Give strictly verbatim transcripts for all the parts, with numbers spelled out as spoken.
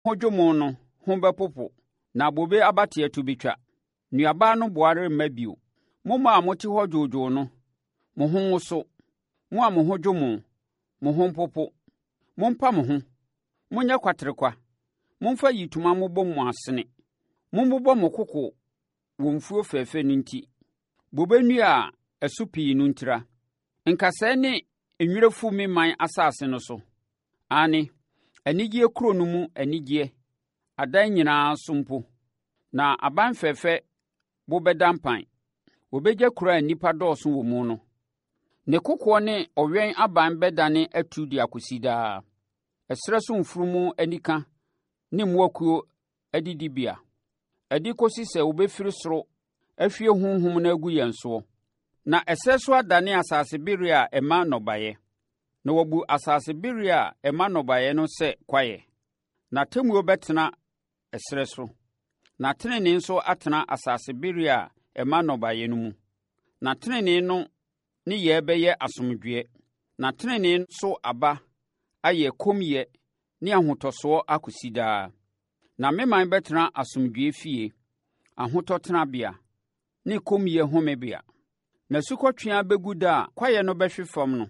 ho dwo mo no ho bɛpopo na bobe abateɛ to bɛtwa. Nnuaba anoboa remma bio. Mo mmaa a mote hɔ dwoodwoo no, mo ho nwoso. Mo a mo ho dwo mo, mo ho mpopo. Mompa mo ho, monyɛ kwaterekwa. Momfa ayitoma mmobɔ mo asene. Mommobɔ mo koko wɔ mfuo fɛfɛ no nti, bobe nnua a ɛso pii no ntira. Nkasɛɛ ne nwerɛ fu me man asase no so. Aane, anigyeɛ kuro no mu anigyeɛ adan nyinaa so mpo, na aban fɛfɛ bo bɛda mpan. Wɔbɛgya kuro a nnipa dɔɔso wɔ mu no. Ne kokoɔ ne ɔwɛn aban bɛdane atu de akɔsi daa. Ɛserɛ so mfunumu anika ne mmoakuo adidibea. Ɛde kɔsi sɛ wobɛfiri soro ahwie honhom no agu yɛn soɔ. Na ɛserɛ so adane asase bereɛ a ɛma nnɔbaeɛ. Na wɔabu asase bereɛ a ɛma nnɔbaeɛ no sɛ kwaeɛ. Na atemmuo bɛtena ɛserɛ so. Na tenenee nso atena asase bereɛ a ɛma nnɔbaeɛ no mu. Na tenenee no nneyɛɛ bɛyɛ asomdwoeɛ. Na tenenee so aba ayɛ kommyɛ ne ahotɔsoɔ akɔsi daa. Na me man bɛtena asomdwoeɛ fie, ahotɔ tenabea ne kommyɛ homebea. Na asukɔtweaa bɛgu da a kwaeɛ no bɛhwe fam no,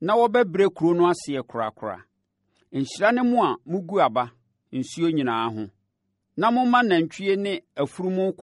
na wɔbɛbrɛ kuro no aseɛ korakora. Nhyira ne mo a mugu aba nsuo nyinaa ho, na moma nantwie ne afunumu